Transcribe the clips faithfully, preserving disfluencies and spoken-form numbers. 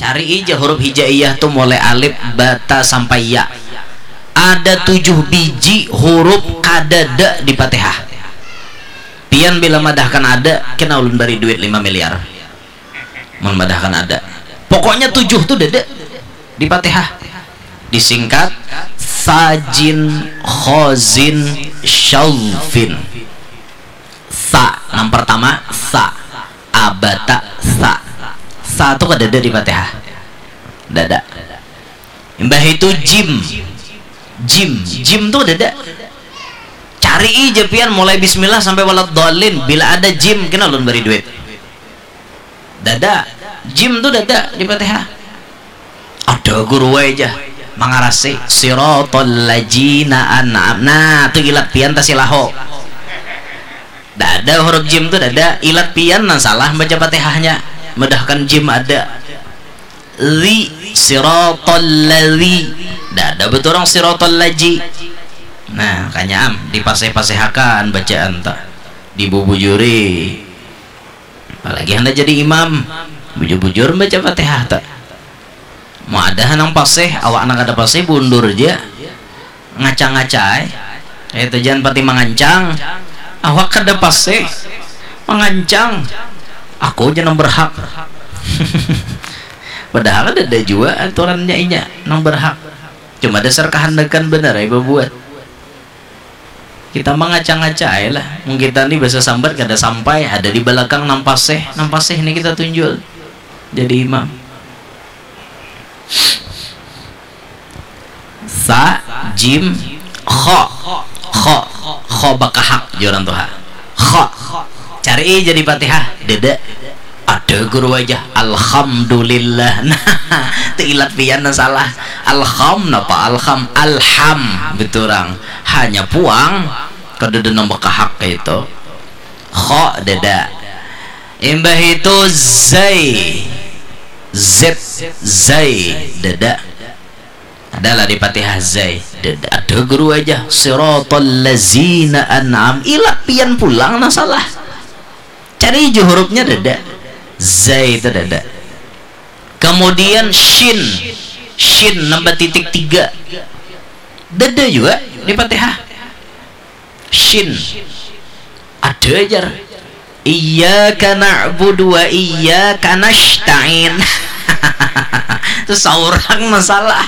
Ari ija huruf hijaiyah tu mulai alif, bata sampai ya. Ada tujuh biji huruf kadada di Fatihah. Pian bila madahkan ada, kena ulun bari duit lima miliar. Mun madahkan ada. Pokoknya tujuh tu dada di Fatihah. Disingkat sajin, khozin, syaufin. Sa, nang pertama sa. Abata sa. Sa tu kadada di Fatihah. Dada. Imbah itu jim. Jim, jim tu kadada. Cari ija pian mulai bismillah sampai waladhdallin. Bila ada jim, kena ulun bari duit. Dada. Jim tu dada di Fatihah. Ada guru wae ja mangarasi siratal ladzina an'am. Nah, tu ilat pian tasilaho. Dada huruf jim tu dada, ilat pian nang salah baca Fatihahnya. Madahkan jim ada. Li, siratal ladzi. Dada beturang siratal ladzi. Nah, kanya am dipaseh-pasehakan bacaan ta. Dibubujuri. Apalagi handak jadi imam, bujur-bujur baca Fatihah ta. Mau ada nang pasih, awak nang kada pasih bundur ja. Ngaca-ngaca ai. Itu jangan pati mangancang. Awak kada pasih. Mangancang. Aku ja nang berhak. Padahal kada ada jua aturannya inya nang berhak. Cuma dasar kehendakan benar ai babuat. Kita mah ngaca-ngaca aja lah. Mun kita nih bahasa sambat kada sampai, ada di belakang nang pasih, nang pasih nih kita tunjul jadi imam. Sa, jim, kho, kho, kho bakahak juran tuha. Kho, cari jadi Fatihah, dada. Ada guru aja, alhamdulillah. Nah, tu ilat pian nah salah. Alham napa alham? Alham beturang. Hanya puang kada ada nang bakahak kayak itu. Kho dada. Imbah itu zai. Z, zai dada. Adalah di Fatihah zai. Dada. Ada guru aja. Siratal lazina an'am. Ilat pian pulang nah salah. Cari ju hurufnya dada. Zai itu dada. Kemudian shin. Shin nambah titik tiga. Dada juga di Fatihah. Shin. Ada ajar. Iyyaka na'budu wa iyyaka nasta'in. Itu seorang masalah.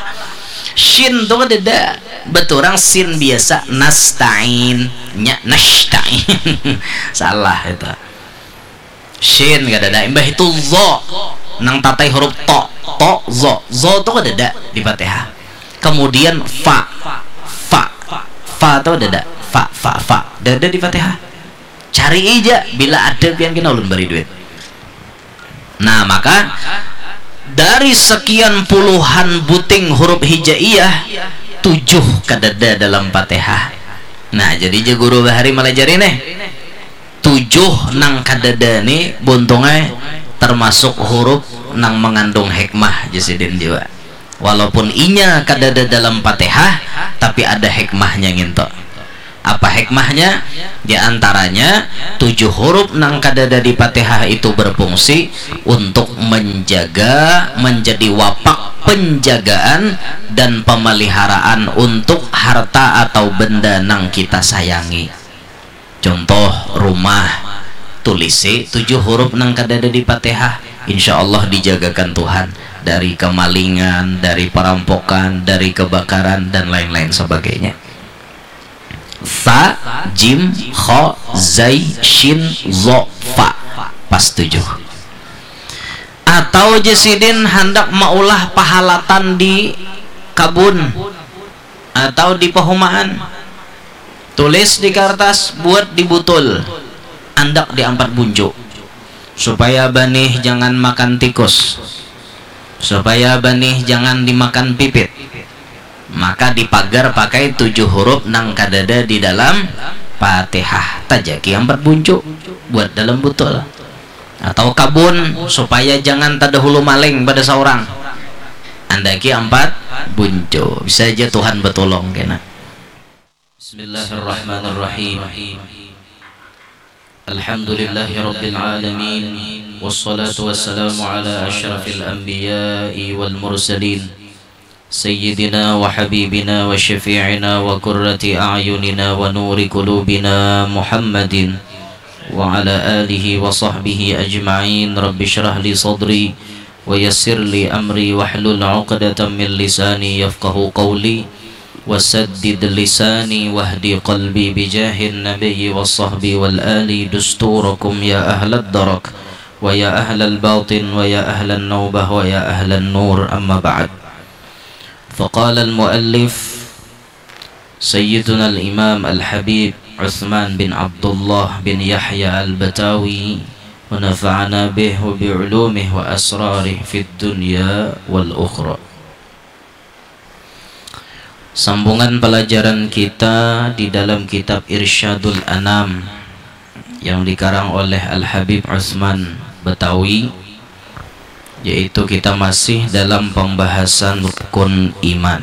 Shin tuh kan dada. Beturang sin biasa nasta'in. Nya nasta'in. Salah itu. Shin kadada. Imbah itu zo. Nang tatai huruf to. To, zo. Zo tu kadada di Fatihah. Kemudian fa. Fa. Fa tu kadada. Fa, fa, fa. Dada di Fatihah. Cari ija. Bila ada pian kena ulun bari duit. Nah, maka dari sekian puluhan buting huruf hijaiyah, tujuh kadada dalam Fatihah. Nah, jadi ja guru bahari malajari nih. Tujuh nang kadada ni buntung ai termasuk huruf nang mengandung hikmah ja sidin jua. Walaupun inya kadada dalam Fatihah, tapi ada hikmahnya nginto. Apa hikmahnya? Di antaranya, tujuh huruf nang kadada di Fatihah itu berfungsi untuk menjaga, menjadi wapak penjagaan dan pemeliharaan untuk harta atau benda nang kita sayangi. Contoh, rumah, tulisi tujuh huruf nang kadada di Fatihah, insya Allah dijagakan Tuhan dari kemalingan, dari perampokan, dari kebakaran, dan lain-lain sebagainya. Sa, jim, kho, zai, shin, zo, fa. Pas tujuh. Atau ja sidin handak maulah pahalatan di kabun atau di pahumaan. Tulis di kartas, buat di butul. Andak di ampat buncu. Supaya banih jangan makan tikus. Supaya banih jangan dimakan pipit. Maka dipagar pakai tujuh huruf nang kadada di dalam Fatihah. Tajaki ampat buncu buat dalam butul. Atau kabun supaya jangan tadahulu maling pada saurang. Andaki ampat buncu. Bisa aja Tuhan betulung kena. Bismillahirrahmanirrahim. Alhamdulillahirabbil alamin. والصلاة والسلام على أشرف الأنبياء والمرسلين سيدنا وحبيبنا وشفيعنا وقرة أعيننا ونور قلوبنا محمد وعلى آله وصحبه أجمعين. رب اشرح لي صدري ويسر لي أمري واحلل عقدة من لساني يفقه قولي وسدد لساني واهد قلبي بجاه النبي والصحب والآل دستوركم يا أهل الدرك ويا أهل الباطن ويا أهل النوبة ويا أهل النور، أما بعد. فقال المؤلف سيدنا الإمام الحبيب عثمان بن عبد الله بن يحيى البتاوي ونفعنا به وبعلومه وأسراره في الدنيا والأخرى. Sambungan pelajaran kita di dalam kitab Irsyadul Anam yang dikarang oleh Al-Habib Utsman Betawi, yaitu kita masih dalam pembahasan rukun iman.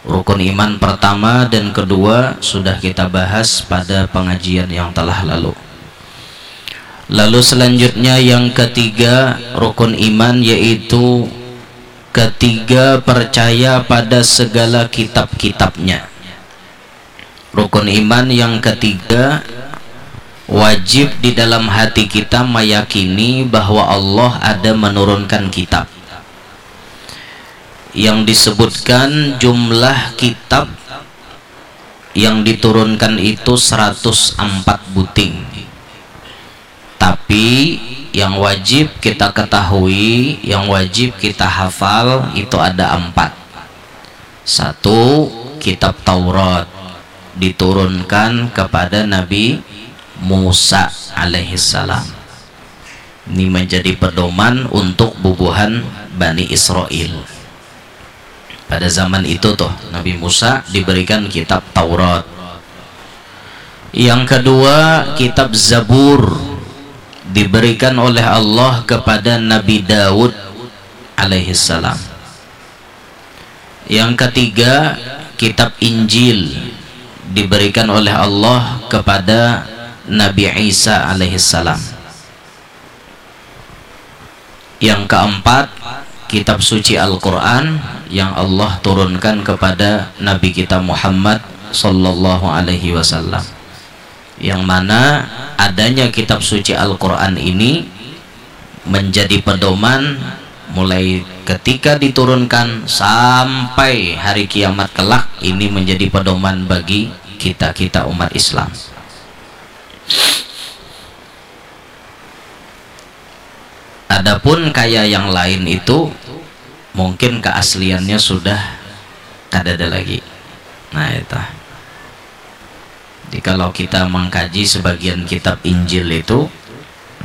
Rukun iman pertama dan kedua sudah kita bahas pada pengajian yang telah lalu. Lalu selanjutnya yang ketiga rukun iman, yaitu ketiga percaya pada segala kitab-kitabnya. Rukun iman yang ketiga, wajib di dalam hati kita meyakini bahwa Allah ada menurunkan kitab. Yang disebutkan jumlah kitab yang diturunkan itu seratus empat buting. Tapi yang wajib kita ketahui, yang wajib kita hafal itu ada empat. Satu, kitab Taurat diturunkan kepada Nabi Musa alaihissalam. Ini menjadi pedoman untuk bubuhan Bani Israel. Pada zaman itu tuh, Nabi Musa diberikan kitab Taurat. Yang kedua, kitab Zabur diberikan oleh Allah kepada Nabi Daud alaihissalam. Yang ketiga, kitab Injil diberikan oleh Allah kepada Nabi Isa alaihissalam. Yang keempat, kitab suci Al-Quran yang Allah turunkan kepada Nabi kita Muhammad sallallahu alaihi wasallam. Yang mana adanya kitab suci Al-Quran ini menjadi pedoman mulai ketika diturunkan sampai hari kiamat kelak, ini menjadi pedoman bagi kita-kita umat Islam. Adapun kaya yang lain itu mungkin keasliannya sudah kadada lagi. Nah, itu. Jadi kalau kita mengkaji sebagian kitab Injil itu,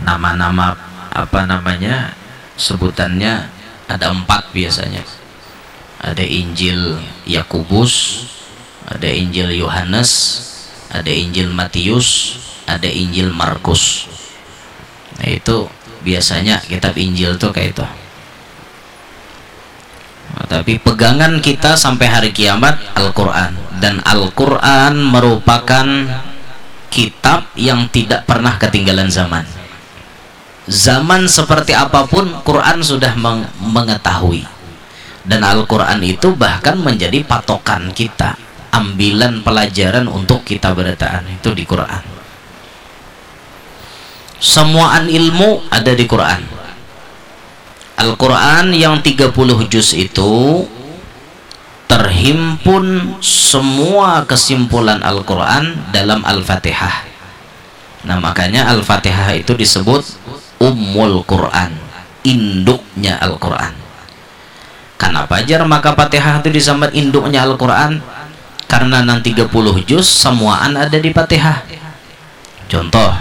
nama-nama, apa namanya, sebutannya ada empat biasanya. Ada Injil Yakobus, ada Injil Yohanes, ada Injil Matius, ada Injil Markus. Nah, itu biasanya kitab Injil tuh kayak itu. Nah, tapi pegangan kita sampai hari kiamat Al-Quran. Dan Al-Quran merupakan kitab yang tidak pernah ketinggalan zaman. Zaman seperti apapun, Quran sudah meng- mengetahui. Dan Al-Quran itu bahkan menjadi patokan kita, ambilan pelajaran untuk kita berataan itu di Quran. Semuaan ilmu ada di Quran. Al-Quran yang tiga puluh juz itu terhimpun semua kesimpulan Al-Quran dalam Al-Fatihah. Nah, makanya Al-Fatihah itu disebut Ummul Quran, induknya Al-Quran. Kenapa jar maka Fatihah itu disambat induknya Al-Quran? Karena nang tiga puluh juz semuaan ada di Fatihah. Contoh,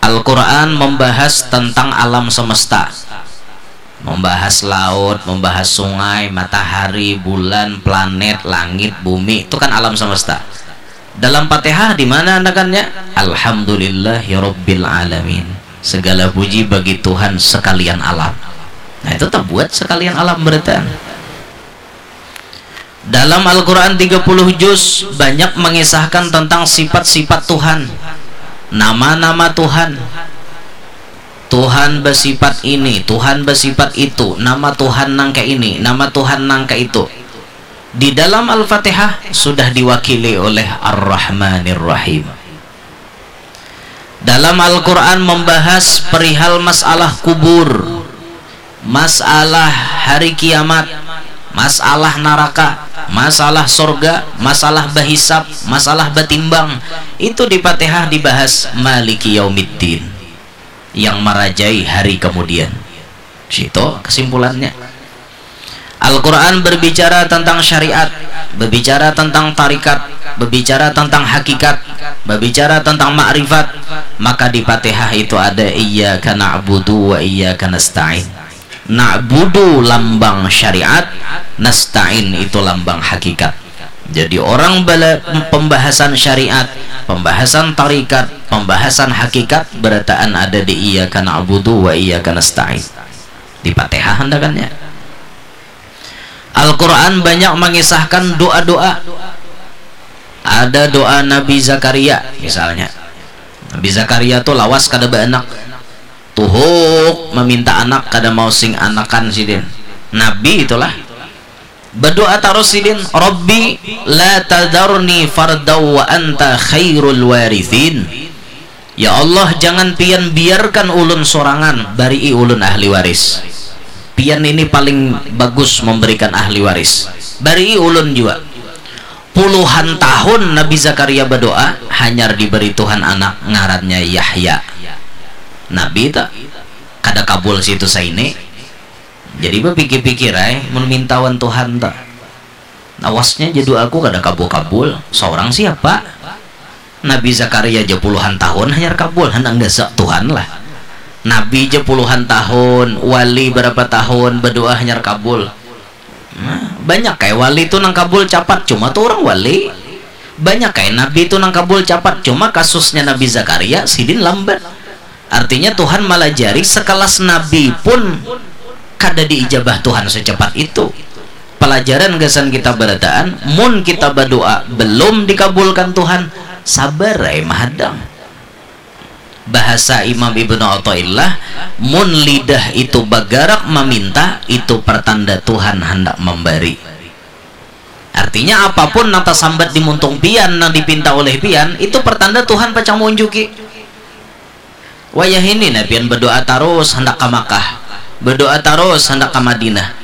Al-Quran membahas tentang alam semesta. Membahas laut, membahas sungai, matahari, bulan, planet, langit, bumi, itu kan alam semesta. Dalam Fatihah di mana anakannya? Alhamdulillahirabbil alamin. Segala puji bagi Tuhan sekalian alam. Nah, itu terbuat sekalian alam berarti. Dalam Al-Quran tiga puluh juz banyak mengisahkan tentang sifat-sifat Tuhan. Nama-nama Tuhan. Tuhan bersifat ini, Tuhan bersifat itu, nama Tuhan nang kaini, nama Tuhan nang kaitu. Di dalam Al-Fatihah sudah diwakili oleh Ar-Rahmanir Rahim. Dalam Al-Quran membahas perihal masalah kubur, masalah hari kiamat, masalah naraka, masalah sorga, masalah bahisab, masalah batimbang. Itu di Fatihah dibahas Maliki Yaumiddin, yang marajai hari kemudian. Situ kesimpulannya. Al-Quran berbicara tentang syariat, berbicara tentang tarikat, berbicara tentang hakikat, berbicara tentang makrifat. Maka di Fatihah itu ada iyyaka na'budu wa iyyaka nasta'in. Na'budu lambang syariat, nasta'in itu lambang hakikat. Jadi orang bala pembahasan syariat, pembahasan tarikat, pembahasan hakikat berataan ada di iyyaka na'budu wa iyyaka nasta'in. Di Fatihah handakannya. Al-Quran banyak mengisahkan doa-doa. Ada doa Nabi Zakaria misalnya. Nabi Zakaria tuh lawas kada baanak. Tuhuk meminta anak kada mau sing anakan sidin. Nabi itulah. Berdoa terus sidin, "Rabbi la tadarni fardau wa anta khairul warithin." Ya Allah, jangan pian biarkan ulun sorangan, barii ulun ahli waris. Pian ini paling bagus memberikan ahli waris. Barii ulun jua. Puluhan tahun Nabi Zakaria berdoa, hanyar diberi Tuhan anak ngarannya Yahya. Nabi tak kada kabul situ saini. Jadi bapikir-pikir ai mun mintawan Tuhan tak. Awasnya jadu aku kada kabul-kabul. Seorang siapa? Nabi Zakaria aja puluhan tahun hanyar kabul, handak gasak Tuhan lah. Nabi aja puluhan tahun, wali berapa tahun berdoa hanyar kabul. Nah, banyak kayak wali tuh nang kabul capat, cuma tuh orang wali. Banyak kayak nabi tuh nang kabul capat, cuma kasusnya Nabi Zakaria sidin lambat. Artinya Tuhan malajari sekelas nabi pun kada diijabah Tuhan secepat itu. Pelajaran gasan kita barataan, mun kita berdoa belum dikabulkan Tuhan, sabar ai mahadang. Bahasa Imam Ibnu Athaillah, mun lidah itu bagarak maminta, itu pertanda Tuhan handak memberi. Artinya apapun nang tasambat di muntung pian, nang dipinta oleh pian, itu pertanda Tuhan pacang maunjuki. Wayah ini nah pian berdoa tarus handak ka Makkah, berdoa tarus handak ka Madinah.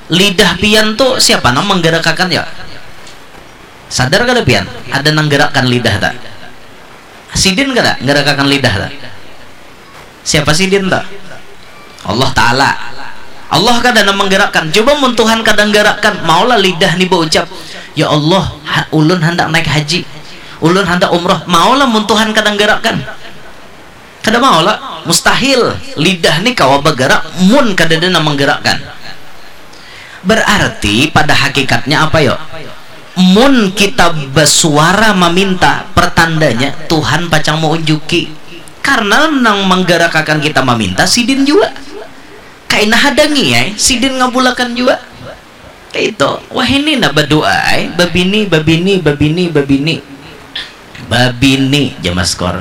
Lidah pian tu siapa nang menggerakkan ya? Sadar kada pian? Ada nang gerakkan lidah tak? Sidin kada ngerakakan lidah tak? Siapa sidin tak? Allah Ta'ala. Allah kada nang menggerakkan. Coba mun Tuhan kada menggerakkan, maulah lidah ni baucap, "Ya Allah, ha, ulun handak naik haji, ulun handak umroh." Maulah mun Tuhan kada menggerakkan? Kada maulah. Mustahil. Lidah ni kawa bergerak mun kada ada nang menggerakkan. Berarti pada hakikatnya apa yo? Mun kita bersuara meminta, pertandanya Tuhan pacang maunjuki. Karena nang menggerakakan kita meminta sidin jua. Kaina hadangi ai, sidin ngabulakan jua. Kayak itu. Wah ini nah berdoa ai, babini, babini, babini, babini. Babini, jamaskor.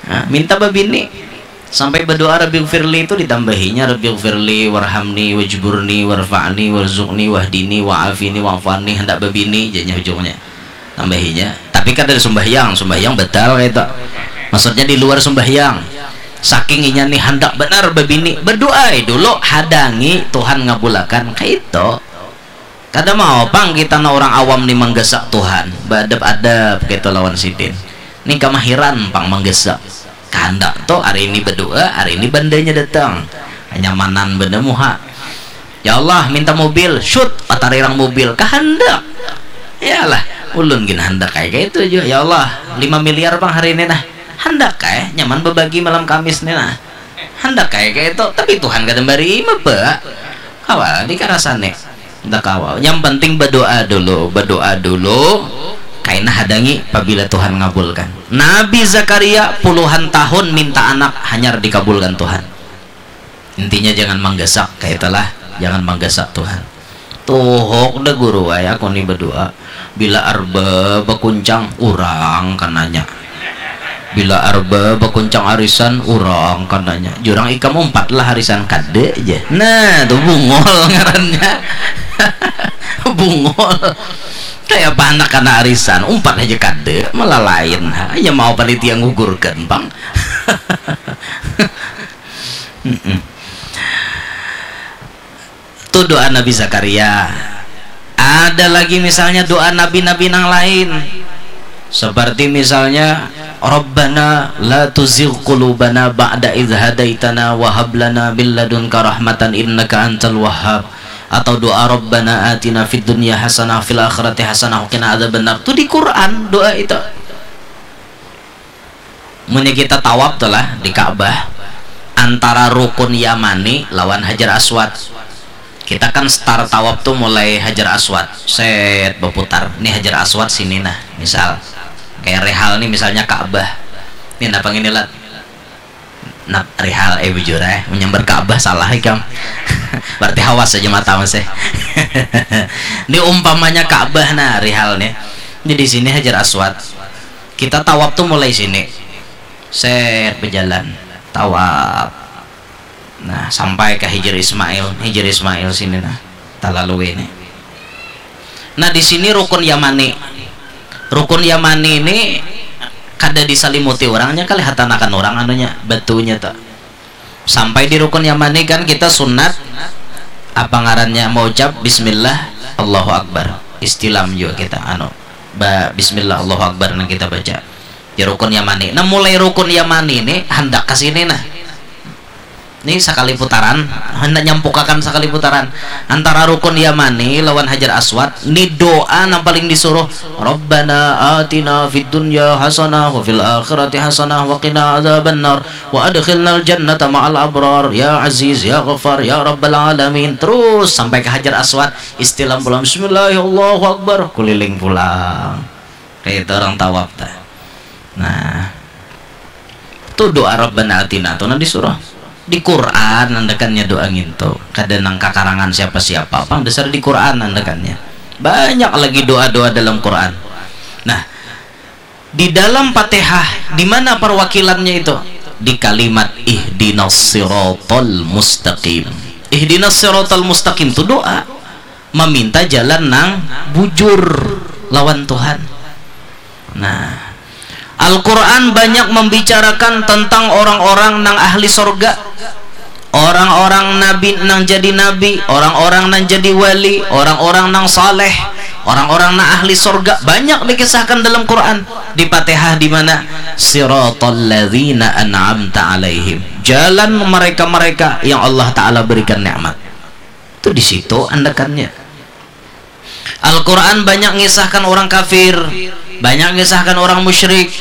Nah, minta babini. Sampai berdoa Rabbi firli itu ditambahinya Rabbi firli warhamni wajburni warfa'ni warzuqni wahdini wa'afini wa'fani, hendak babini jadinya ujungnya. Tambahinya. Tapi kada ada sumbahyang, sumbahyang batal kayak itu. Maksudnya di luar sumbahyang. Saking inya nih hendak benar babini, berdoa dulu, hadangi Tuhan ngabulakan kayak itu. Kada mau pang kita na orang awam ni manggasak Tuhan, baadap-adap kaitu lawan sidin. Ni kamahiran pang manggasak. Kahandak tu hari ini badoa, hari ini bandanya datang. Kanyamanan benda muha. Ya Allah, minta mobil, syut, patarirang mobil, kahandak. Yalah, ulun gin handak kaya kaitu jua. Ya Allah, lima miliar pang hari ini nah. Handak kaya, nyaman babagi malam Kamis ni nah. Handak kaya kaitu, tapi Tuhan kada mari ima ba. Kawa dikarasani. Handak kawa. Yang penting berdoa dulu, berdoa dulu. Kaina hadangi pabila Tuhan ngabulkan. Nabi Zakaria puluhan tahun minta anak hanyar dikabulkan Tuhan. Intinya jangan manggasak, kaitulah. Jangan manggasak Tuhan. Tuhuk dah guru ai aku ni berdoa. Bila arba bakuncang, urang kananya. Bila arba bakuncang arisan urang kananya, jurang ikam umpat lah arisan, kada ja. Nah, tu bungul ngarannya. Bungul. Kayak apa anak kana arisan, umpat aja kada, malah lain. Hanya mau panitia ngugurkan, pang. Mm-mm. Tu doa Nabi Zakaria. Ada lagi misalnya doa nabi-nabi nang lain. Seperti misalnya, "Rabbana la tuzigh qulubana ba'da idz hadaitana wa hab lana min ladunka rahmatan innaka antal wahhab." Atau doa, "Rabbana atina fid dunya hasanah fil akhirati hasanah wa qina adzabannar." Tu di Quran doa itu. Munnya kita tawaf tu lah di Ka'bah, antara rukun Yamani lawan Hajar Aswad. Kita kan start tawaf tu mulai Hajar Aswad, set, baputar. Ni Hajar Aswad sini nah, misal. Kayak Rihal ni misalnya Ka'bah. Ni napa ngini, Lat? Nah, Rihal, eh, bujur, eh, menyambar Ka'bah salah ikam. Berarti hawas aja mata masih. Ini umpamanya Ka'bah nah, Rihal nih. Ini di sini Hajar Aswad. Kita tawaf tuh mulai sini. Set, berjalan. Tawaf. Nah, sampai ke Hijir Ismail. Hijir Ismail sini nah. Talalui ini. Nah, di sini rukun Yamani. Rukun Yamani ini kada disalimuti orangnya, kali hatanakan orang anunya, batunya tuh. Sampai di rukun Yamani kan kita sunat, apa ngarannya, mau ucap bismillah, Allahu Akbar. Istilam juga kita, anu, ba, bismillah, Allahu Akbar nang kita baca. Di rukun Yamani. Nah, mulai rukun Yamani ini handak ke sini nah. Ini sakali putaran, hendak nyampukakan sakali putaran. Antara rukun Yamani lawan Hajar Aswad, ni doa nang paling disuruh. "Rabbana atina fid dunya hasanah wa fil akhirati hasanah wa qina adzabannar wa adkhilnal jannata ma'al abrar ya Aziz ya Ghaffar ya Rabbal alamin." Terus sampai ke Hajar Aswad, istilam pulang, "Bismillahirrahmanirrahim, Allahu Akbar," kuliling pulang. Kayak itu orang tawaf tah. Nah, tu doa Rabbana atina tu nah disuruh. Di Quran nandakannya doa ngintu. Kada nang kakarangan siapa-siapa, pang dasar di Quran nandakannya. Banyak lagi doa-doa dalam Quran. Nah, di dalam Fatihah, di mana perwakilannya itu? Di kalimat ihdinas siratal mustaqim. Ihdinas siratal mustaqim tu doa, meminta jalan nang bujur lawan Tuhan. Nah, Al-Quran banyak membicarakan tentang orang-orang nang ahli sorga, orang-orang nabi nang jadi nabi, orang-orang nang jadi wali, orang-orang nang saleh, orang-orang nang ahli sorga, banyak dikisahkan dalam Quran. Di Fatihah di mana? Siratal ladzina an'amta alaihim. Jalan mereka-mereka yang Allah Ta'ala berikan nikmat. Itu di situ andakannya. Al-Quran banyak mengisahkan orang kafir, banyak mengisahkan orang musyrik,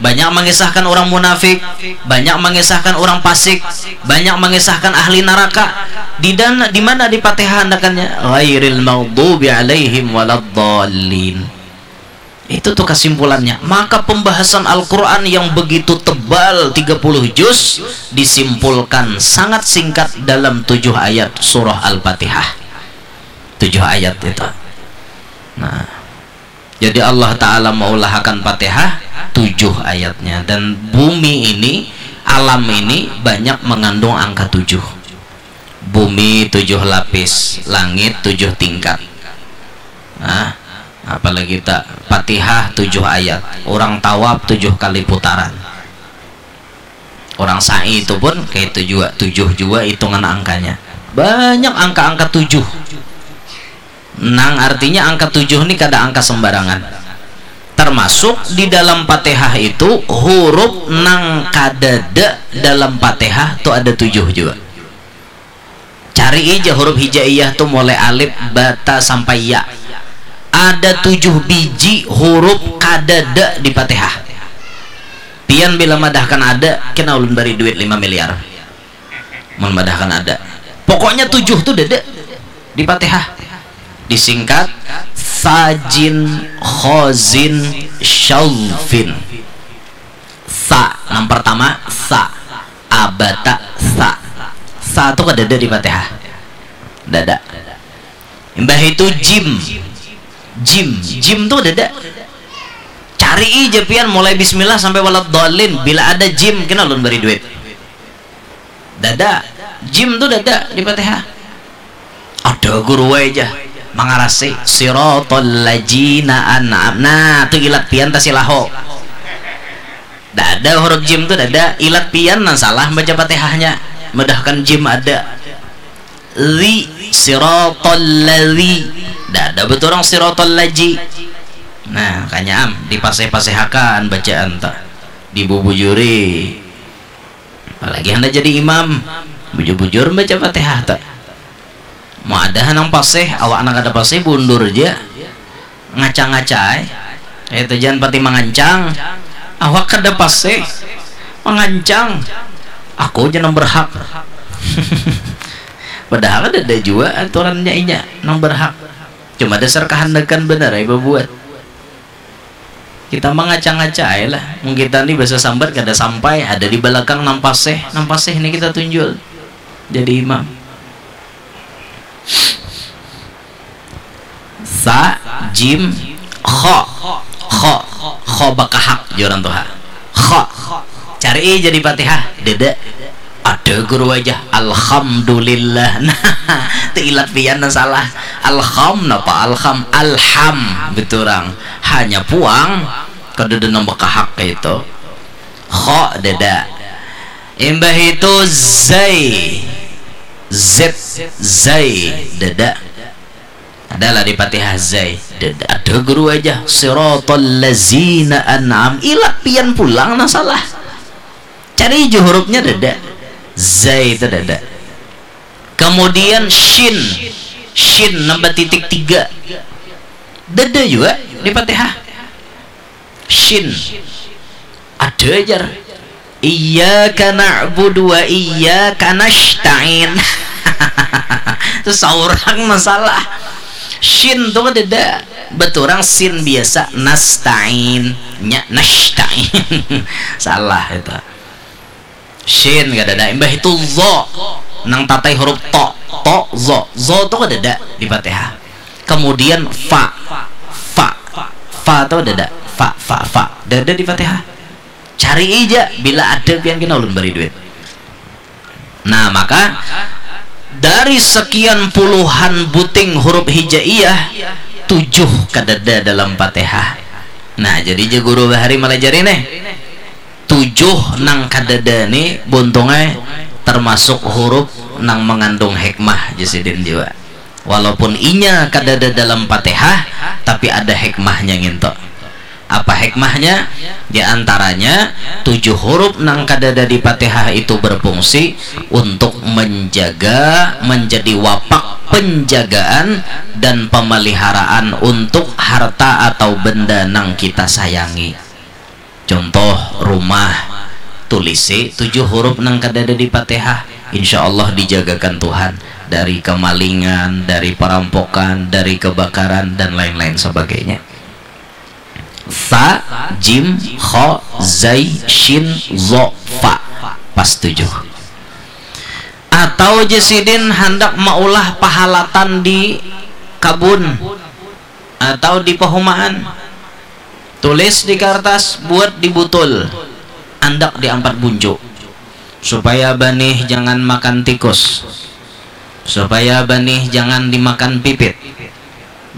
banyak mengisahkan orang munafik, banyak mengisahkan orang pasik, banyak mengisahkan ahli neraka. Di dan di mana di Fatihah andakannya? Ghairil maghdubi alaihim waladdallin. Itu tuh kesimpulannya. Maka pembahasan Al-Quran yang begitu tebal, tiga puluh juz, disimpulkan sangat singkat dalam tujuh ayat surah Al-Fatihah. Tujuh ayat itu. Nah, jadi Allah Ta'ala meulahakan Fatihah tujuh ayatnya. Dan bumi ini, alam ini banyak mengandung angka tujuh. Bumi tujuh lapis, langit tujuh tingkat. Nah, apalagi tak Fatihah tujuh ayat, orang tawaf tujuh kali putaran. Orang sa'i itu pun kayak itu juga, tujuh juga hitungan angkanya. Banyak angka-angka tujuh. Nang artinya angka tujuh ni kada angka sembarangan. Termasuk di dalam Fatihah itu huruf nang kadada dalam Fatihah tu ada tujuh juga. Cari aja huruf hijaiyah tu mulai alif, bata sampai ya. Ada tujuh biji huruf kadada di Fatihah. Pian bila madahkan ada, kena ulun bari duit lima miliar. Mun madahkan ada. Pokoknya tujuh tu dada di Fatihah. Disingkat sajin khozin syaufin. Sa, nang pertama sa. Abata sa. Sa tu kadada di Fatihah. Dada. Imbah itu jim. Jim, jim tu dada. Ca Ari ija pian mulai bismillah sampai waladhdallin, bila ada jim kena ulun bari duit. Dada, jim tu dada di Fatihah. Ada guru wae ja mangarasi siratal ladzina an'am. Nah, tu ilat pian tasilaho. Dada huruf jim tu dada, ilat pian nang salah baca Fatihahnya. Madahkan jim ada. Li siratal ladzi. Dada beturang siratal ladzi. Nah, kanya am dipaseh-pasehakan bacaan ta. Dibubujuri. Apalagi handak jadi imam, bujur-bujur baca Fatihah ta. Mau ada hanang paseh, awak nang kada paseh bundur ja. Ngaca-ngaca ai. Itu jangan pati mangancang. Awak kada paseh. Mangancang. Aku ja nang berhak. Padahal kada ada jua aturannya inya nang berhak. Cuma dasar kahandakan banar ai babuat. Kita mangaca-ngaca ai lah. Mun kita ni bahasa sambat kada sampai, ada di balakang nang paseh, nang paseh ni kita tunjul jadi imam. Sa, jim, kho, kho, kho bakahak jar urang tuha. Kho. Cari jadi Fatihah, dada. Ada guru aja, alhamdulillah. Nah, tu ilat pian nang salah. Alham napa? Alham, alham beturang. Hanya puang kada ada nang bakahak kaitu. Kho dada. Imbah itu zai. Z, zai dada. Adalah di Fatihah zai. Dada. Ada guru aja. Siratal lazina an'am. Ilat pian pulang nang salah. Cari ju hurufnya dada. Zai itu dada. Kemudian shin. Shin nambah titik tiga. Dada juga di Fatihah. Shin. Ada jar. Iyyaka na'budu wa iyyaka nasta'in. Itu saurang masalah. Shin tu kadada. Beturang sin biasa, nasta'in. Nya nasta'in. Salah itu. Shin kadada. Imbah itu zo. Nang tatai huruf to. To, zo. Zo tu kadada di Fatihah. Kemudian fa. Fa. Fa tu kadada. Fa, fa, fa. Dada di Fatihah. Cari ija, bila ada pian kena ulun bari duit. Nah, maka dari sekian puluhan buting huruf hijaiyah, tujuh kadada dalam Fatihah. Nah, jadi ja guru bahari malajari nih. Tujuh nang kadada ni buntungnya termasuk huruf nang mengandung hikmah, jar sidin jua. Walaupun inya kadada dalam Fatihah, tapi ada hikmahnya nginto. Apa hikmahnya? Di antaranya, tujuh huruf nang kadada di Fatihah itu berfungsi untuk menjaga, menjadi wapak penjagaan dan pemeliharaan untuk harta atau benda nang kita sayangi. Contoh, rumah, tulisi tujuh huruf nang kadada di Fatihah, insya Allah dijagakan Tuhan dari kemalingan, dari perampokan, dari kebakaran, dan lain-lain sebagainya. Sa, jim, kho, zai, shin, zo, fa. Pas tujuh. Atau ja sidin handak maulah pahalatan di kabun atau di pahumaan. Tulis di kartas, buat di butul. Andak di ampat buncu. Supaya banih jangan makan tikus. Supaya banih jangan dimakan pipit.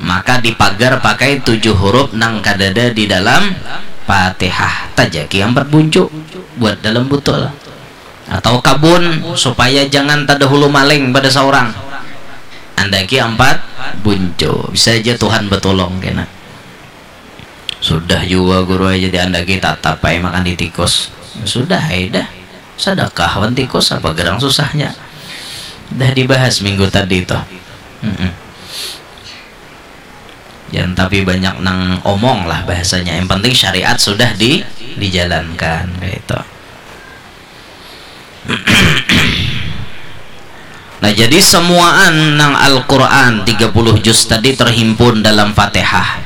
Maka dipagar pakai tujuh huruf nang kadada di dalam Fatihah. Tajaki ampat buncu buat dalam butul. Atau kabun, supaya jangan tadahulu maling pada saurang. Andaki ampat buncu. Bisa aja Tuhan betulung kena. Sudah jua guru aja diandaki tatap ai makan di tikus. Sudah ai dah. Sadakah wan tikus, apa gerang susahnya. Dah dibahas minggu tadi tuh. Mm-mm. Jangan tapi banyak nang omong lah bahasanya. Yang penting syariat sudah di, dijalankan kayak itu. Nah, jadi semuaan nang Al-Quran tiga puluh juz tadi terhimpun dalam Fatihah.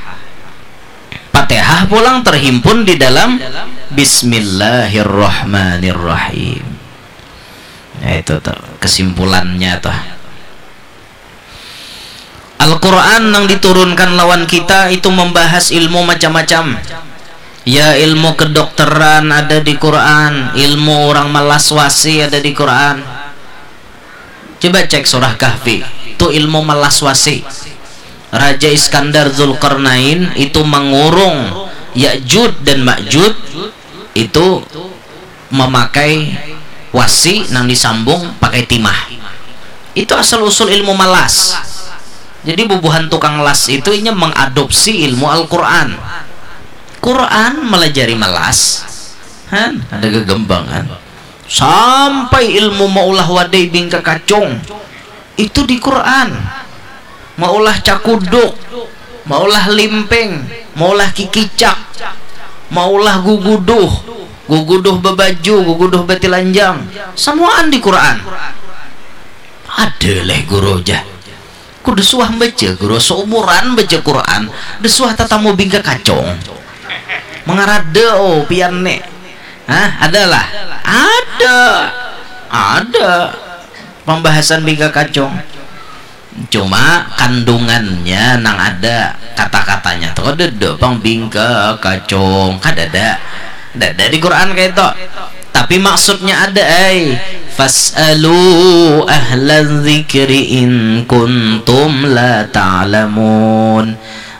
Fatihah pulang terhimpun di dalam Bismillahirrahmanirrahim. Nah, itu tuh kesimpulannya tuh. Al-Quran yang diturunkan lawan kita itu membahas ilmu macam-macam. Ya, ilmu kedokteran ada di Quran, ilmu orang melas wasi ada di Quran. Coba cek surah Kahfi, tu ilmu melas wasi. Raja Iskandar Zulkarnain itu mengurung Ya'juj dan Ma'juj itu memakai wasi nang disambung pakai timah. Itu asal usul ilmu malas. Jadi bubuhan tukang las itu inya mengadopsi ilmu Al-Quran. Quran melajari malas. Han, ada gegembangan. Sampai ilmu maulah wadai bingka kacung itu di Quran. Maulah cakuduk, maulah limping, maulah kikicak, maulah guguduh, guguduh babaju, guguduh batilanjang, samuaan di Quran. Ada leh guru, jah. Ku da suah baca guru, seumuran baca Quran, da suah tatamu bingka kacung. Mangarada, oh, pian ne. Hah, ada lah? Ada. Ada pembahasan bingka kacung. Cuma kandungannya nang ada, kata-katanya tu kadada pang bingka kacung, kadada. Dada di Quran kayak itu. Tapi maksudnya ada, ai. Fas'alu ahla dzikri in kuntum la ta'lamun.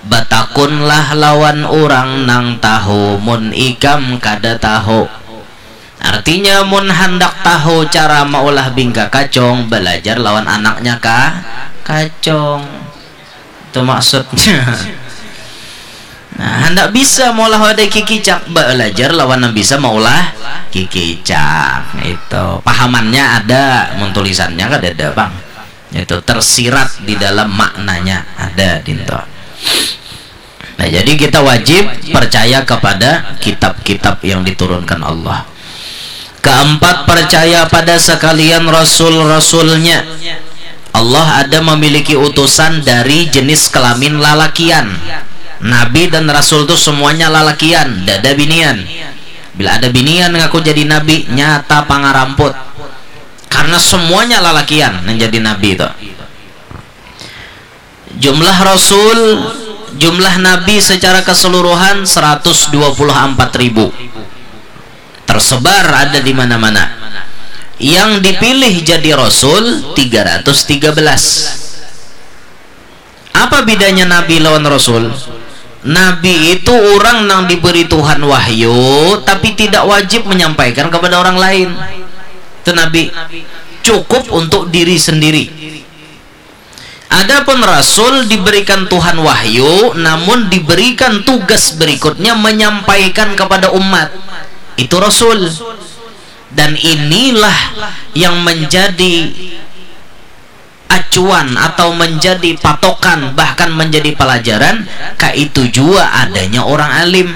Batakunlah lawan urang nang tahu mun ikam kada tahu. Artinya, mun handak tahu cara maulah bingka kacung, balajar lawan anaknya ka kacung. Itu maksudnya. Nah, handak bisa maulah wadai kikicak, balajar lawan nang bisa maulah kikicak. Itu pahamannya ada, mun tulisannya kadada pang. Itu tersirat di dalam maknanya, ada dinto. Nah, jadi kita wajib percaya kepada kitab-kitab yang diturunkan Allah. Keempat, percaya pada sekalian rasul-rasulnya. Allah ada memiliki utusan dari jenis kelamin lalakian. Nabi dan rasul tu semuanya lalakian, dada binian. Bila ada binian ngaku jadi nabi, nyata pangaramput. Karena semuanya lalakian yang jadi nabi itu. Jumlah rasul, jumlah nabi secara keseluruhan seratus dua puluh empat ribu. Tersebar ada di mana-mana. Yang dipilih jadi rasul tiga ratus tiga belas. Apa bedanya nabi lawan rasul? Nabi itu orang nang diberi Tuhan wahyu, tapi tidak wajib menyampaikan kepada orang lain. Itu nabi. Cukup untuk diri sendiri. Adapun rasul diberikan Tuhan wahyu, namun diberikan tugas berikutnya menyampaikan kepada umat. Itu rasul. Dan inilah yang menjadi acuan atau menjadi patokan, bahkan menjadi pelajaran, kaitu jua adanya orang alim.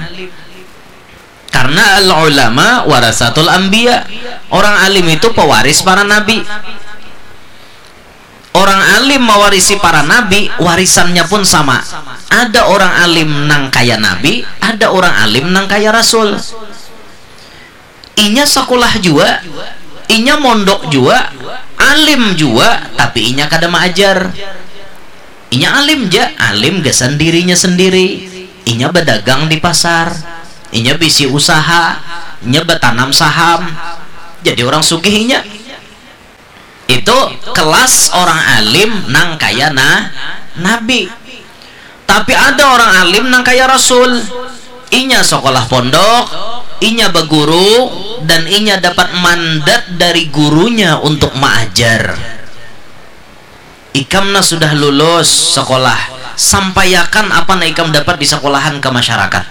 Karena al-ulama warasatul anbiya. Orang alim itu pewaris para nabi. Orang alim mewarisi para nabi, warisannya pun sama. Ada orang alim nang kaya nabi, ada orang alim nang kaya rasul. Inya sekolah jua, inya mondok jua, alim jua, tapi inya kada maajar. Inya alim ja, alim gasan dirinya sendiri. Inya badagang di pasar, inya bisi usaha, inya batanam saham. Jadi orang sugih inya. Itu kelas orang alim nang kaya na nabi. Tapi ada orang alim nang kaya rasul. Inya sekolah pondok, inya baguru, dan inya dapat mandat dari gurunya untuk maajar. Ikam nah sudah lulus sekolah, sampaiakan apa nang ikam dapat di sekolahan ke masyarakat.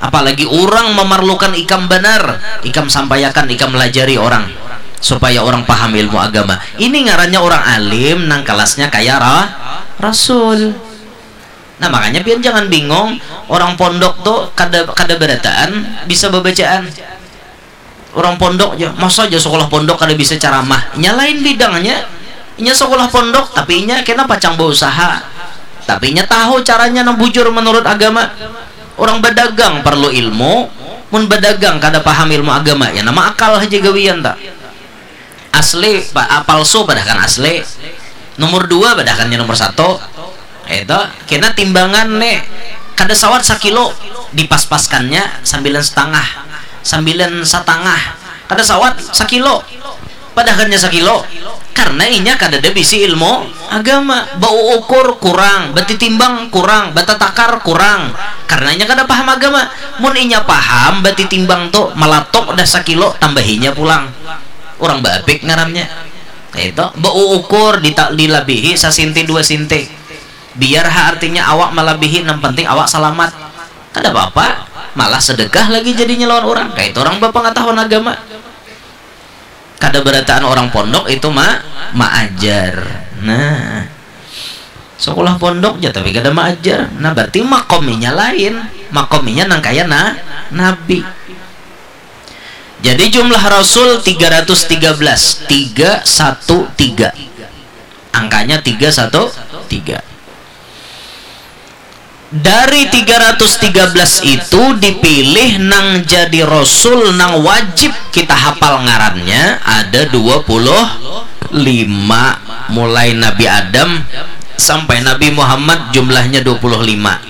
Apalagi orang memerlukan ikam banar, ikam sampaiakan, ikam lajari orang supaya orang paham ilmu agama. Ini ngarannya orang alim nang kelasnya kaya ra rasul. Nah, makanya pian jangan bingung, orang pondok tuh kada kada berataan bisa babacaan. Orang pondok ja, masa ja sekolah pondok kada bisa ceramah? Nya lain bidangnya. Inya sekolah pondok, tapi inya kena pacang bausaha. Tapi inya tahu caranya nang bujur menurut agama. Orang badagang perlu ilmu, mun badagang kada paham ilmu agama, ya nama akal haja gawian ta. Asli, pa- ah, palsu padahkan asli. Nomor dua padahkannya nomor satu. Itu kena timbangan nih, kada sawat sakilo. dipaspaskannya sambilan setengah, sambilan satangah, kada sawat sakilo, padahakannya sakilo, karena inya kadada bisi ilmu agama, bauukur kurang, batitimbang kurang, batatakar kurang, karena inya kada paham agama. Mun inya paham batitimbang tu, malatok dah sakilo, tambahinya pulang. Urang baabik ngarannya. Kaitu, bauukur, dita-, dilabihi sasinti dua sinti. Biar ha artinya awak malabihi, nang penting awak salamat. Kada apa-apa, malah sedekah lagi jadinya lawan urang. Kaitu urang bapangatahuan agama. Kada barataan urang pondok itu ma-, maajar. Nah, sakulah pondok ja tapi kada maajar. Nah, berarti makominya lain. Makominya nang kaya na-, nabi. Jadi jumlah rasul tiga ratus tiga belas, tiga satu tiga. Angkanya tiga satu tiga. Dari tiga ratus tiga belas itu dipilih nang jadi rasul nang wajib kita hafal ngarannya ada dua puluh lima, mulai Nabi Adam sampai Nabi Muhammad jumlahnya dua puluh lima.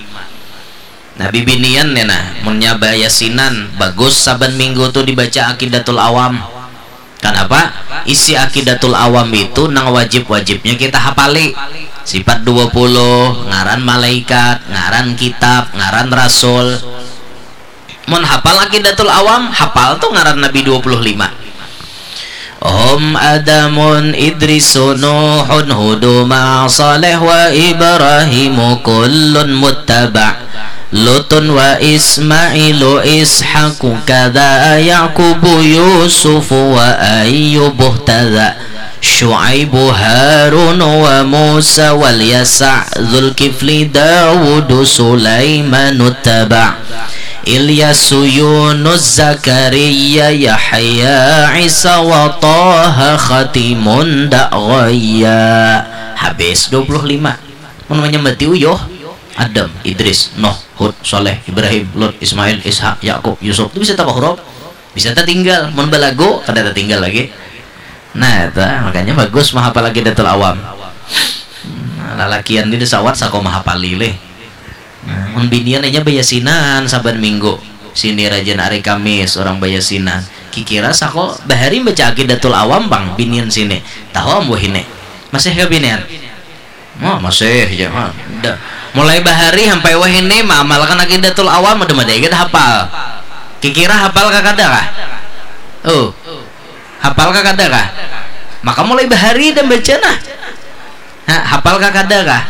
Nah, bibinian nih nah, munnya bayasinan, bagus saban minggu tu dibaca Aqidatul Awam. Kanapa? Isi Aqidatul Awam itu nang wajib-wajibnya kita hapali. Sifat dua puluh, ngaran malaikat, ngaran kitab, ngaran rasul. Mun hapal Aqidatul Awam, hapal tu ngaran Nabi dua puluh lima. Hum Adamun Idrisu Nuhun Hudu ma Saleh wa Ibrahimu kullun muttaba. Lutun wa Ismailu Ishaku kada Yakubu Yusufu wa Ayyubu tada. Syuaibu Harun wa Musa wal Yasa Zulkifli Dawudu Sulaimanu taba. Ilyasu Yunus Zakariya Yahya Isa wa Taha Khatimun dak ghaya. Habis dua puluh lima. Mun manyambati uyuh, Adam, Idris, Nuh, Hud, Saleh, Ibrahim, Lut, Ismail, Ishak, Yakub, Yusuf. Tu bisa tapa huruf? Bisa tatinggal. Mun balagu, kada tatinggal lagi. Nah, itu makanya bagus mahapal Aqidatul Awam. Nah, lalakian ni sawat sako mahapali lih. Nah, mun binian inya bayasinan saban minggu. Sini rajin hari Kamis urang bayasinan. Kikira sako bahari baca Aqidatul Awam pang binian sini. Tahu am wahini. Masih kah binian? Wah, masih ja. Wah, da. Mulai bahari sampai wahini maamalkan Aqidatul Awam udah madai kada hapal. Kikira hapal kah kada kah? Oh. Hapal kah kada kah? Maka mulai bahari dah baca nah. Ha, hapal kah kada kah?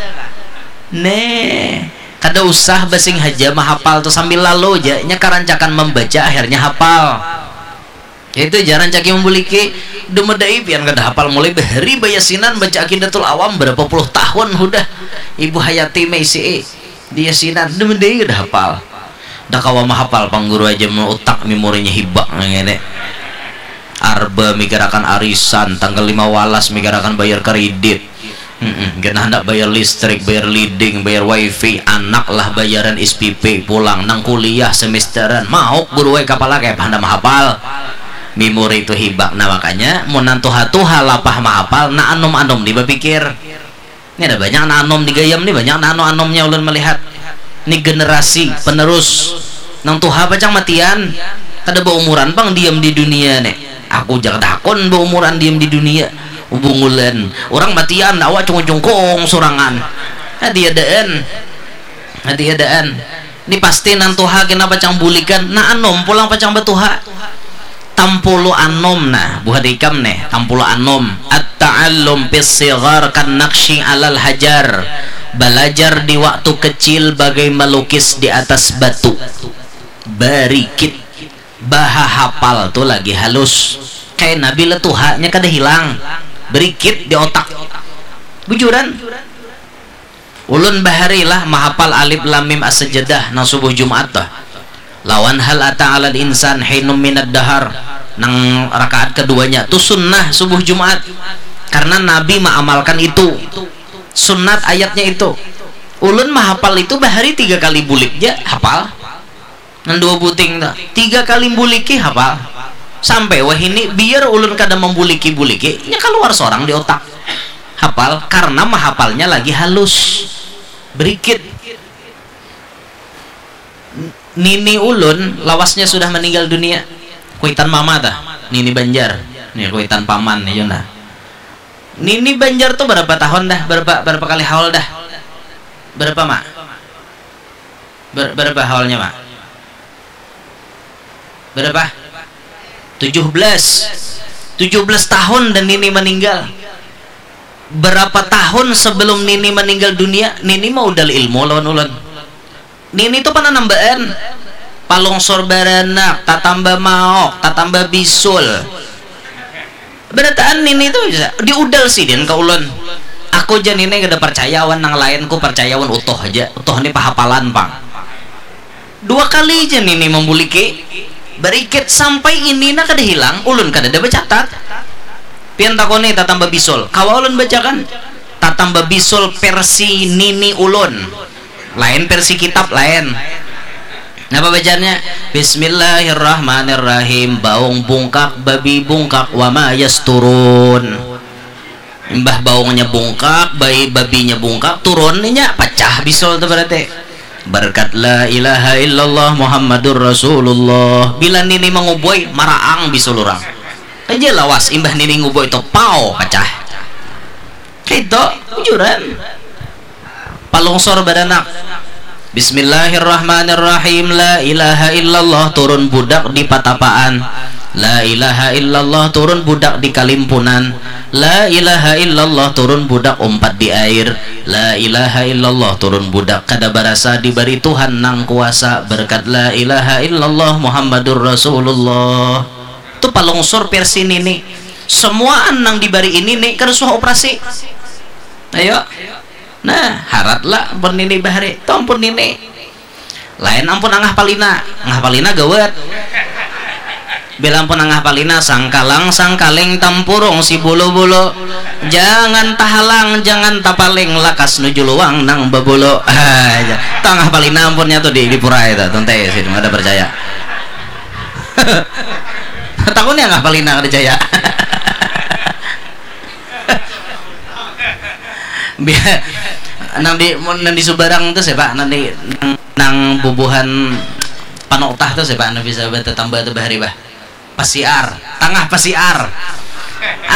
Neh, kada usah basing haja mahapal tu, sambil lalu ja nya karancakan mambaca akhirnya hapal. Itu ja rancaki mambuliki. Duh madai pian kada hapal, mulai bahari bayasinan baca Aqidatul Awam berapa puluh tahun hudah. Ibu Hayati maisi di yasinan, duh madai kada hapal. Dah kawa mahapal pang guru aja mun utak memorinya hibak nang ini. Arba mikirakan arisan, tanggal lima walas mikirakan bayar kredit. Mm-mm, kena handak bayar listrik, bayar leading, bayar wifi, anak lah bayaran S P P pulang, nang kuliah semesteran, mauk guru ai kapala kaya apa handak mahapal. Memori itu hibak. Nah, makanya mun nang tuha-tuha lapah mahapal, nah anum-anum ni bapikir. Ni ada banyak nah anum di gayam ni, banyak nah anu-anumnya ulun melihat. Ni generasi penerus. Nang tuha pacang matian, kada baumuran pang diam di dunia ni. Aku ja kada hakun baumuran diam di dunia. Bungulan. Urang matian, awak cungkung-cungkung surangan. Hatiadaan. Hatiadaan. Ni pasti nang tuha kena pacang bulikan, nah anum pulang pacang batuha. Tampulu anum, nah, buhan ikam nih, tampulu anum. At-ta'allum fis sighar kan naqsyi alal hajar. Balajar di waktu kecil bagai malukis di atas batu. Barikit. Bahahapal tu lagi halus. Kaya nabi letuhanya kada hilang. Berikit di otak. Bujuran. Ulun bahari lah mahapal alif lam mim as-sajadah nang subuh Jumat tuh. Lawan hal ata alal insan hinum minad dahar nang rakaat keduanya tu sunnah subuh Jumat. Karena Nabi maamalkan itu. Sunat ayatnya itu. Ulun mahapal itu bahari tiga kali bulik ja hapal. Nang dua buting tu. Tiga kali buliki hapal. Sampai wahini biar ulun kada mambuliki-buliki, nya kaluar sorang di otak. Hapal karena mahapalnya lagi halus. Berikit. Nini ulun lawasnya sudah meninggal dunia. Kuitan mama tah, nini Banjar. Nih kuitan paman nih Yuna. Nini Banjar tuh berapa tahun dah? Berapa berapa kali haul dah? Berapa mak? Ber, berapa haulnya mak? Berapa? Tujuh belas. Tujuh belas tahun dan nini meninggal. Berapa tahun sebelum nini meninggal dunia, nini mau udal ilmu lawan ulun. Nini tu pernah nambaan palungsur baranak, tatamba maok, tatamba bisul. Barataan nini tu bisa diudal sidin ka ulun. Aku ja nini kada percaya awan nang lain, ku percaya awan utuh aja. Utuh ni pahapalan pang. Dua kali ja nini mambuliki barikit sampai ini na kada hilang, ulun kada ada bacatat. Pian takuni tatamba bisul, kawa ulun bacakan. Tatamba bisul versi nini ulun. Lain versi kitab lain. Napa bacaannya? Bismillahirrahmanirrahim. Baung bungkak, babi bungkak, wama yasturun. Imbah baungnya bungkak, bayi babinya bungkak, turun inya, pacah bisul tu berarti. Berkat la ilaha illallah Muhammadur Rasulullah. Bila nini mangubui, maraang bisul urang. Aja lawas imbah nini ngubui tu, pau, pacah. Kaitu, bujuran. Palungsur baranak. Bismillahirrahmanirrahim. La ilaha illallah, turun budak di patapaan. La ilaha illallah, turun budak di kalimpunan. La ilaha illallah, turun budak umpat di air. La ilaha illallah, turun budak kada barasa dibari Tuhan nang kuasa berkat la ilaha illallah Muhammadur Rasulullah. Tu palungsur versi nini. Semuaan nang dibari ini ni kada suah operasi. Ayo. Nah, harat lah ampun nini bahari. Tu ampun nini. Lain ampun angah palina. Angah palina gawat. Bila ampun angah palina, sangkalang sangkaling tampurung si bulu-bulu. Jangan tahalang, jangan tapaling, lakas nuju luang nang babulu. Ah, ya. Tu angah palina ampunnya tu di, di pura itu. Tuntai sih, kada percaya. Takuni angah palina kada jaya. Bia-, nang di, mun nang di Subarang tu siapa? Nang di, nang, nang bubuhan Panutah tu siapa? Nang bisa batatamba tu bahari bah. Pasiar, tangah pasiar.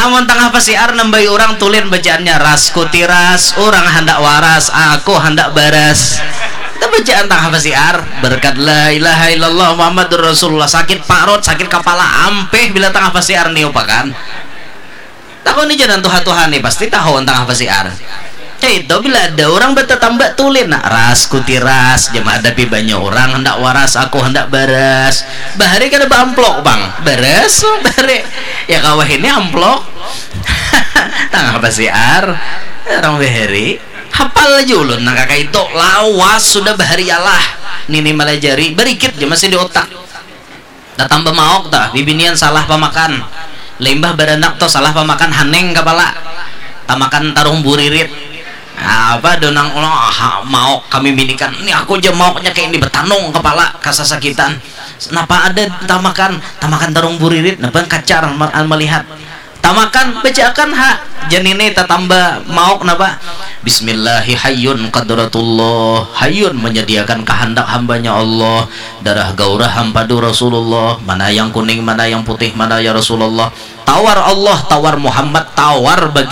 Amun tangah pasiar nambai urang tulin bacaannya, ras kutiras, urang handak waras, aku handak baras. Itu bacaan tangah pasiar. Berkat la ilaha illallah Muhammadur Rasulullah, sakit parut, sakit kapala, ampih bila tangah pasiar niupakan. Takuni ja nang tuha-tuha ni, pasti tahu tangah pasiar. Kaitu bila ada urang batatamba tulin, nah, ras kutiras, jam hadapi banyu urang handak waras, aku handak baras. Bahari kada baamplok pang, baras bahari. Ya kawa ini amplok. Tangah pasiar, urang bahari. Hapal aja ulun nang kakaitu, lawas sudah bahari alah. Nini malajari, barikit ja masih di utak. Tatamba maok tah, bibinian salah pamakan. Limbah baranak tu salah pamakan haning kapala. Tamakan tarung buririt. Apa do nang ulah, ah, maok kami binikan. Ni aku ja maoknya kaya ini, batanung kapala kasasakitan. Napa ada tamakan, tamakan tarung buririt, napa kacar ma-, malihat. Tamakan, bacaakan ha. Jar nini tatamba maok napa? Bismillahi hayyun qadratullah. Hayyun menyediakan kahandak hambanya Allah. Darah gaurah hampadu Rasulullah. Mana yang kuning, mana yang putih, mana ya Rasulullah? Tawar Allah, tawar Muhammad, tawar bagi